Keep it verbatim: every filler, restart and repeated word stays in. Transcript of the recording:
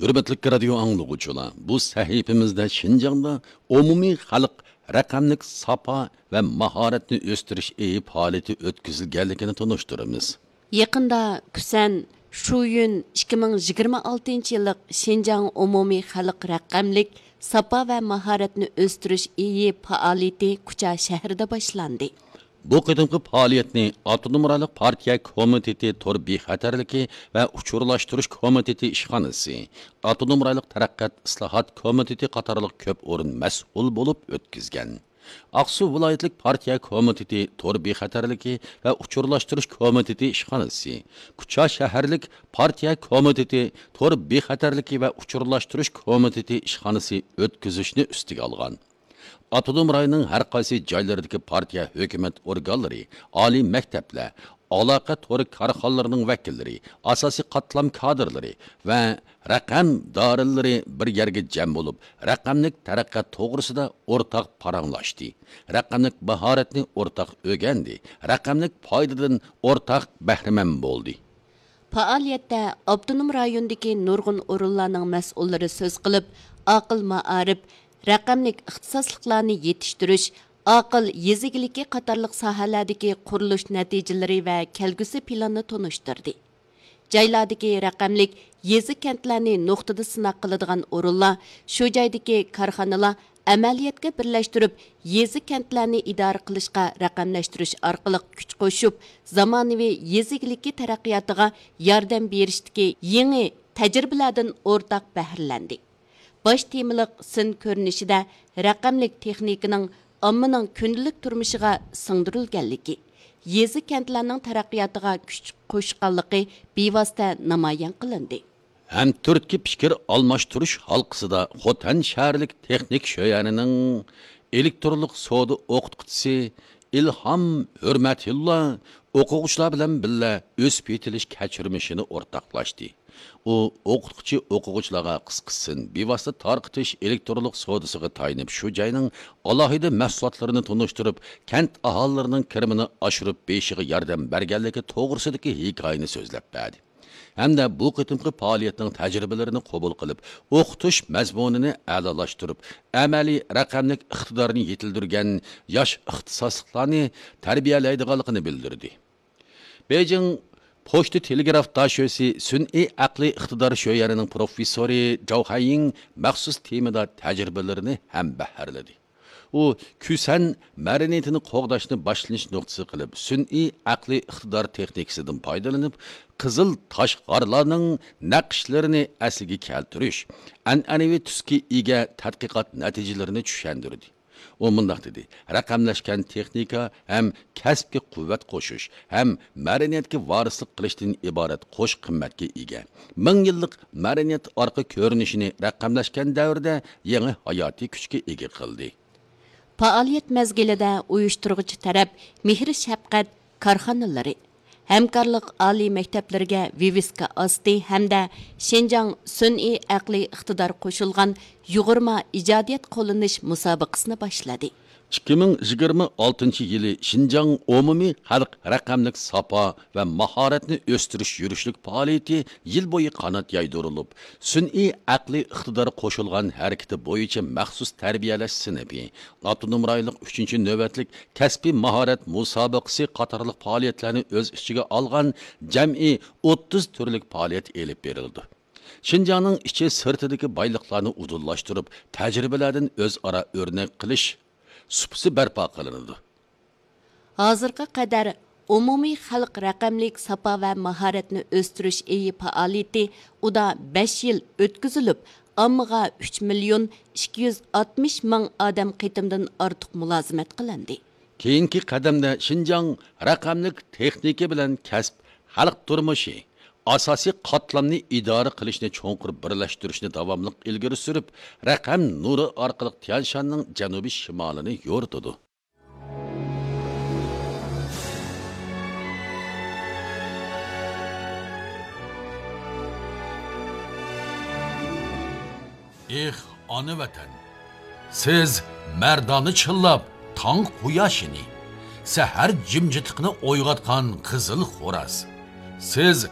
ھۆرمەتلىك رادىيو ئاڭلىغۇچىلار، بۇ سەھىپىمىزدە شىنجاڭدا ئومۇمىي خەلق رەقەملىك ساپا ۋە ماھارەتنى ئۆستۈرۈش ئېيى پائالىيىتى ئۆتكۈزۈلگەنلىكىنى تونۇشتۇرىمىز. يېقىندا كۈسەن شۇيۈن ئىككى مىڭ يىگىرمە ئالتىنچى يىللىق شىنجاڭ ئومۇمىي خەلق رەقەملىك ساپا ۋە ماھارەتنى ئۆستۈرۈش ئېيى پائالىيىتى كۇچا شەھىرىدە باشلاندى. بۇ قېتىمقى پائالىيەتنى ئاپتونوم رايونلۇق پارتىيە كومىتېتى تور بىخەتەرلىكى ۋە ئۇچۇرلاشتۇرۇش كومىتېتى ئىشخانىسى، ئاپتونوم رايونلۇق تەرەققىيات ئىسلاھات كومىتېتى قاتارلىق كۆپ ئورۇن مەسئۇل بولۇپ ئۆتكۈزگەن. ئاقسۇ ۋىلايەتلىك پارتىيە كومىتېتى تور بىخەتەرلىكى ۋە ئۇچۇرلاشتۇرۇش كومىتېتى ئىشخانىسى، كۇچا شەھەرلىك پارتىيە كومىتېتى تور بىخەتەرلىكى ۋە ئۇچۇرلاشتۇرۇش كومىتېتى ئىشخانىسى ئۆتكۈزۈشنى ئۈستىگە ئالغان. ئاپتونوم رايوننىڭ ھەر قايسى جايلىرىدىكى پارتىيە، ھۆكۈمەت ئورگانلىرى، ئالىي مەكتەپلەر، ئالاقە تورى كارخانىلىرىنىڭ ۋەكىللىرى، ئاساسىي قاتلام كادىرلىرى ۋە رەقەم دارىلىرى بىر يەرگە جەم بولۇپ، رەقەملىك تەرەققىيات توغرىسىدا ئورتاق پاراڭلاشتى، رەقەملىك ماھارەتنى ئورتاق ئۆگەندى، رەقەملىك پايدىدىن ئورتاق بەھرىمەن بولدى. پائالىيەتتە ئاپتونوم رايوندىكى نۇرغۇن ئورۇنلارنىڭ مەسئۇللىرى سۆز قىلىپ، ئاقىل مائارىپ، رەقەملىك ئىختىساسلىقلارنى يېتىشتۈرۈش، ئاقىل يېزا ئىگىلىكى قاتارلىق ساھەلەردىكى قۇرۇلۇش نەتىجىلىرى ۋە كەلگۈسى پىلاننى تونۇشتۇردى. جايلاردىكى رەقەملىك يېزا، كەنتلەرنى نۇقتىدا سىناق قىلىدىغان ئورۇنلار، شۇ جايدىكى كارخانىلار ئەمەلىيەتكە بىرلەشتۈرۈپ، يېزا، كەنتلەرنى ئىدارە قىلىشقا رەقەملەشتۈرۈش ئارقىلىق كۈچ قوشۇپ، زامانىۋى يېزا ئىگىلىكى تەرەققىياتىغا ياردەم بېرىشتىكى يېڭى تەجرىبىلەردىن ئورتاق بەھرىلەندى. باش تېمىلىق سىن كۆرۈنۈشىدە رەقەملىك تېخنىكىنىڭ ئاممىنىڭ كۈندىلىك تۇرمۇشىغا سىڭدۈرۈلگەنلىكى، يېزا، كەنتلەرنىڭ تەرەققىياتىغا كۈچ قوشقانلىقى بىۋاسىتە نامايان قىلىندى. ھەمتۈرتكە پىكىر ئالماشتۇرۇش ھالقىسىدا خوتەن شەھەرلىك تېخنىك شۆيەنىنىڭ ئېلېكترونلۇق سودا ئوقۇتقۇچىسى ئىلھام ھۆرمەتۇللا ئوقۇغۇچىلار بىلەن بىللە ئۆسۈپ يېتىلىش كەچۈرمىشىنى ئورتاقلاشتى. ئۇ ئوقۇتقۇچى ئوقۇغۇچىلارغا قىسقىسىن بىۋاسىتە تارقىتىش ئېلېكترونلۇق سودىسىغا تايىنىپ، شۇ جاينىڭ ئالاھىدە مەھسۇلاتلىرىنى تونۇشتۇرۇپ، كەنت ئاھالىلىرىنىڭ كىرىمىنى ئاشۇرۇپ بېرىشىغا ياردەم بەرگەنلىكى توغرىسىدىكى ھېكايىنى سۆزلەپ بەردى. ھەمدە بۇ قېتىمقى پائالىيەتنىڭ تەجرىبىلىرىنى قوبۇل قىلىپ، ئوقۇتۇش مەزمۇنىنى ئەلالاشتۇرۇپ، ئەمەلىي رەقەملىك ئىقتىدارنى يېتىلدۈرگەن ياش ئىختىساسلىقلارنى تەربىيەلەيدىغانلىقىنى بىلدۈردى. بېيجىڭ پوچتا تېلېگراف داشۆسى سۈنئىي ئەقلىي ئىقتىدار شۆيەنىنىڭ پروفېسسورى جاۋ خەييىڭ مەخسۇس تېمىدا تەجرىبىلىرىنى ھەمبەھىرلىدى. ئۇ كۈسەن مەدەنىيىتىنى قوغداشنى باشلىنىش نۇقتىسى قىلىپ، سۈنئىي ئەقلىي ئىقتىدار تېخنىكىسىدىن پايدىلىنىپ، قىزىل تاش غارلارنىڭ نەقىشلىرىنى ئەسلىگە كەلتۈرۈش، ئەنئەنىۋى تۈسكە ئىگە تەتقىقات نەتىجىلىرىنى چۈشەندۈردى. ئۇ مۇنداق دېدى: رەقەملەشكەن تېخنىكا ھەم كەسىپكە قۇۋۋەت قوشۇش، ھەم مەدەنىيەتكە ۋارىسلىق قىلىشتىن ئىبارەت قوش قىممەتكە ئىگە. مىڭ يىللىق مەدەنىيەت ئارقا كۆرۈنۈشىنى رەقەملەشكەن دەۋردە يېڭى ھاياتىي كۈچكە ئىگە قىلدى. پائالىيەت مەزگىلىدە ئۇيۇشتۇرغۇچى تەرەپ مېھىر-شەپقەت كارخانىلىرى، ھەمكارلىق ئالىي مەكتەپلىرىگە ۋىۋىسكا ئاستى ھەمدە شىنجاڭ سۈنئىي ئەقلىي ئىقتىدار قوشۇلغان يۇغۇرما ئىجادىيەت قوللىنىش مۇسابىقىسىنى باشلىدى. ئىككى مىڭ يىگىرمە ئالتىنچى يىلى شىنجاڭ ئومۇمىي خەلق رەقەملىك ساپا ۋە ماھارەتنى ئۆستۈرۈش يۈرۈشلۈك پائالىيىتى يىل بويى قانات يايدۇرۇلۇپ، سۈنئىي ئەقلىي ئىقتىدار قوشۇلغان ھەرىكىتى بويىچە مەخسۇس تەربىيەلەش سىنىپى، ئاپتونوم رايونلۇق ئۈچىنچى نۆۋەتلىك كەسپىي ماھارەت مۇسابىقىسى قاتارلىق پائالىيەتلەرنى ئۆز ئىچىگە ئالغان جەمئىي ئوتتۇز تۈرلۈك پائالىيەت ئېلىپ بېرىلىدۇ. شىنجاڭنىڭ ئىچى سىرتىدىكى بايلىقلارنى ئۇدۇللاشتۇرۇپ، تەجرىبىلەردىن ئۆزئارا ئۆرنەك قىلىش سۇپىسى بەرپا قىلىنىدۇ. ھازىرغا قەدەر ئومۇمىي خەلق رەقەملىك ساپا ۋە ماھارەتنى ئۆستۈرۈش ئېيى پائالىيىتى ئۇدا بەش يىل ئۆتكۈزۈلۈپ، ئاممىغا ئۈچ مىليون ئىككى يۈز ئاتمىش مىڭ ئادەم قېتىمدىن ئارتۇق مۇلازىمەت قىلىندى. كېيىنكى قەدەمدە شىنجاڭ رەقەملىك تېخنىكا بىلەن كەسىپ، خەلق تۇرمۇشى، ئاساسىي قاتلامنى ئىدارە قىلىشنى چوڭقۇر بىرلەشتۈرۈشنى داۋاملىق ئىلگىرى سۈرۈپ، رەقەم نۇرى ئارقىلىق تيەنشاننىڭ جەنۇبىي شىمالىنى يورۇتىدۇ. ئېھ، ئانا ۋەتەن! سىز مەردانە چىللاپ تاڭ قۇياشىنى، سەھەر جىمجىتلىقىنى ئويغاتقان قىزىل خوراز. سىز